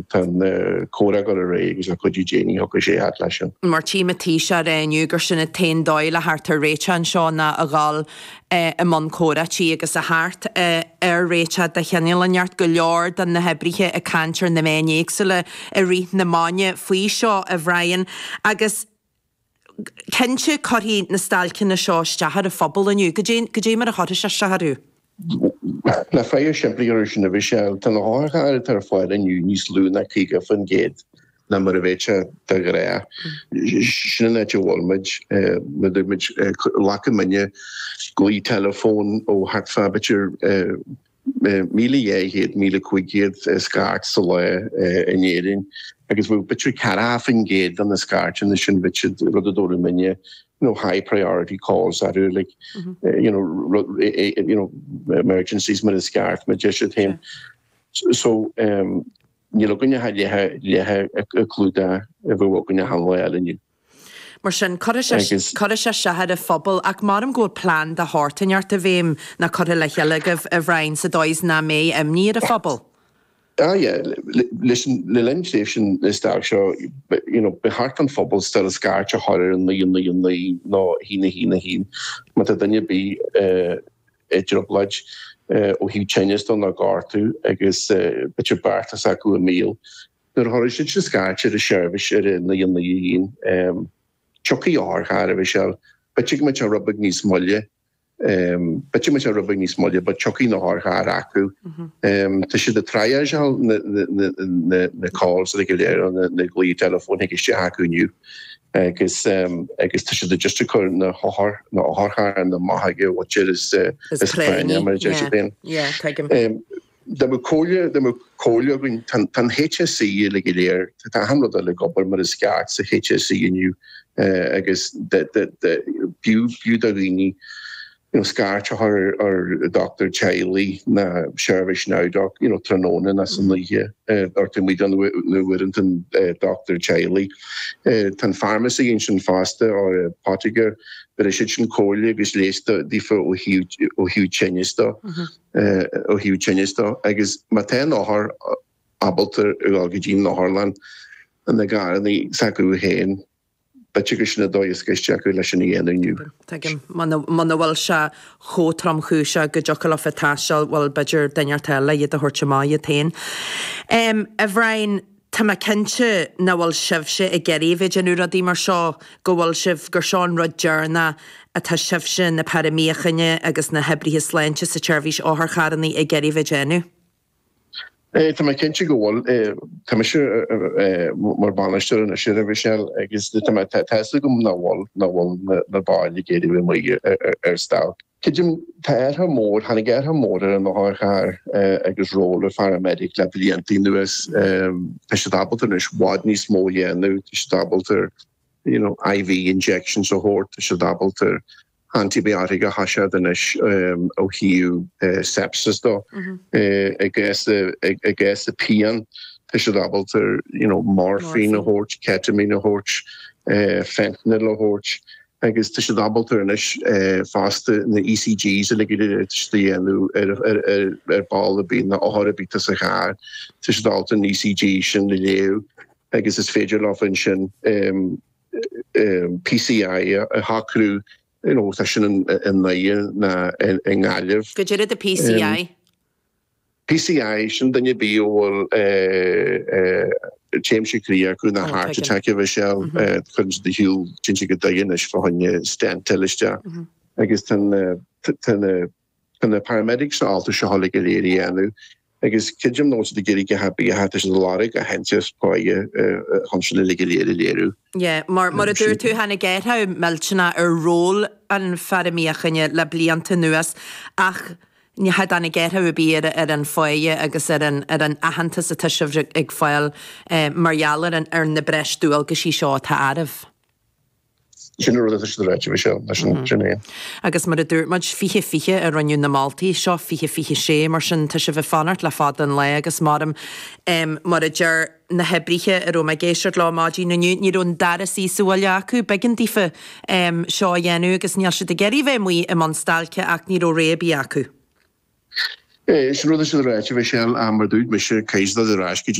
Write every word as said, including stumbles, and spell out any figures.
Tá an comhrá ag dul ar aghaidh agus le cuidiú Dé ní thiocfaidh sé fhad leis sin. Mar tchím an Taoiseach ag rá inniu gur sin an t-aon dóigh le theacht ar réiteach anseo ná a dhul i mbun comhráití agus a theacht ar réiteach de chineál inteacht. Go leor de na hoibrithe ag caint ar na meáin éagsúla i rith na maidine faoi seo, a Bhrian, agus cinnte cuirfidh na stailceanna seo isteach ar an phobal inniu. Cad é mar a chuirfidh sé isteach orthu? Le freagra simplí orthu sin a Mhichelle, tá na hotharchairr atá ar fáil inniu níos lú ná caoga faoin gcéad ná mar a bheadh sé de ghnáth. Sin an áit a bhfuil muid. Mar a dúirt muid, glacann muidne glao teileafóin ó thart fá b'fhéidir míle dhá chéad, míle cúig chéad scairt sa lá in Éirinn agus bheadh b'fhéidir ceathracha faoin gcéad de na scairteanna sin, bheadh siad rud a dtabharfaidh muidne you know, high priority calls orthu, like, you know, you know, emergencies mar is ceart, mar deir siad féin. So, um, níl againne ach leath leath an clúdach a bheadh againne achan lá eile inniu. Mar sin, cuirfidh sé cuirfidh sé isteach ar an phobal ach maram go bhfuil plean de shórt inteacht i bhfeidhm nó curtha le chéile agaibh, a Bhrian, sa dóigh is nach mbeidh imní ar an phobal. Ah yeah, leis an le linn tréimhse na stailc seo, you know, ba cheart don phobal still scairt a chur ar an naoi naoi naoi nó haon a haon a haon má tá duine ar bith i dtrioblóid ó thaobh tinneas de nó gortú agus b'fhéidir beartas acu i mbéal. Nuair a chuirfidh siad sin scairt ar an seirbhís ar a naoi naoi a haon, tiocfaidh otharcharr, a Mhichelle, b'fhéidir go mbeidh sé rud beag níos moille. B'fhéidir go mbeidh sé rud beag níos moille but tiocfaidh na hotharchairr acu. Tá siad ag triageáil na calls go léir, na glaoigh teileafóin a thig isteach acu inniu agus agus tá siad just ag cur na hothair na hotharcharranna amach ag an mhuintir is is práinne mar a deir siad féin. Dá mbeadh comhairle dá mbeadh comhairle againn tá an HSE uilig go léir tá achan rud uilig ag obair mar is ceart sa HSE inniu agus b'fhiú b'fhiú do dhaoine you know scairt a chur ar dochtúir teaghlaigh ná seirbhís NowDoc you know tráthnóna ná san oíche ar taobh amuigh de na uaireanta an dochtúir teaghlaigh. Tá an pharmacy ansin fosta or apotheke bhéarfaidh siad sin comhairle agus leigheas daofa ó thaobh ó thaobh tinnis de ó thaobh tinnis de agus má tá an othar ábalta a dhul go dtí an otharlann ina gcarrannaí s'acu féin B'fhéidir gur sin an dóigh is gaiste acu leis sin a dhéanamh inniu. Tuigim. Muna bhfuil sé chomh tromchúiseach go dtiocfadh leofa taisteal, bhuel, b'fhéidir duine inteacht eile iad a thabhairt amach iad féin. A Bhriain, tá mé cinnte nach bhfuil sibhse ag iarraidh a bheith ag déanamh rudaí mar seo, go bhfuil sibh, gur seo an rud deireanach atá sibhse, na feara míochaine agus na hoibrithe sláinte sa tseirbhís otharcharranna ag iarraidh a bheith ag déanamh. Tá mé cinnte go bhfuil. Tá mise mar bhainisteoir anois ar Mhichelle agus tá mé tá fhios agam nach bhfuil nach bhfuil na baill ag iarraidh bheith amuigh ar stailc. Creidim, tá athrú mór, tháinig athrú mór ar an otharcharr agus ról an pharamedic le blianta anuas. Tá siad ábalta anois i bhfad níos mó a dhéanamh, tá siad ábalta you know IV injections a thabhairt, tá siad ábalta antibiotic a thoiseacht anois ó thaobh sepsis de. I gcás i gcás pian tá siad ábalta you know morphine a thabhairt, ketamine a thabhairt, fentanyl a thabhairt agus tá siad ábalta anois fosta na ECGs uilig go léir tá siad a dhéanamh ar ar ar ball ar bith nó othar ar bith atá sa charr, tá siad ábalta an ECG sin a léamh agus is féidir leo ansin PCI a shocrú, you know, tá sin i nDoire ná i nGaillimh. Cad é do PCI? PCI, sin duine ar bith a bhfuil taimse croí acu nó heart attack a Mhichelle, cuireann siad ar shiúl, téann siad go Doire anois fá choinne stent a fháil isteach agus tá na Tá na paramedics ábalta seo uilig go léir a dhéanamh agus creidim nach bhfuil siad ag iarraidh a dhath ar bith, tá siad ag lorg aitheantas páighe chun sin uilig go léir a léiriú. Yeah, mar mar a dúirt tú, tháinig athrú millteanach ar ról an feara míochaine le blianta anuas ach ní tháinig athrú ar bith ar ar an pháighe agus ar an ar an aitheantas atá sibh ag fáil mar gheall ar an ar na breis dualgaisí seo atá oraibh. Sin an rud atá siad ag ráit, Michelle, sin sin é. Agus mar a dúirt muid, fiche fiche a rinneadh na moltaí seo, fiche fiche sé, mar sin tá sibh ag fanacht le fada an lá agus maram mar a deir na hoibrithe a raibh mé ag éisteacht leo maidin inniu, ní raibh an dara suí sa bhaile acu, b'éigean daofa seo a dhéanamh agus níl siad ag iarraidh bheith amuigh i mbun stailce ach ní raibh rogha ar bith acu. Sin rud atá siad ag ráit, Michelle, mar a dúirt mise, caithfidh siad dul ar ais go dtí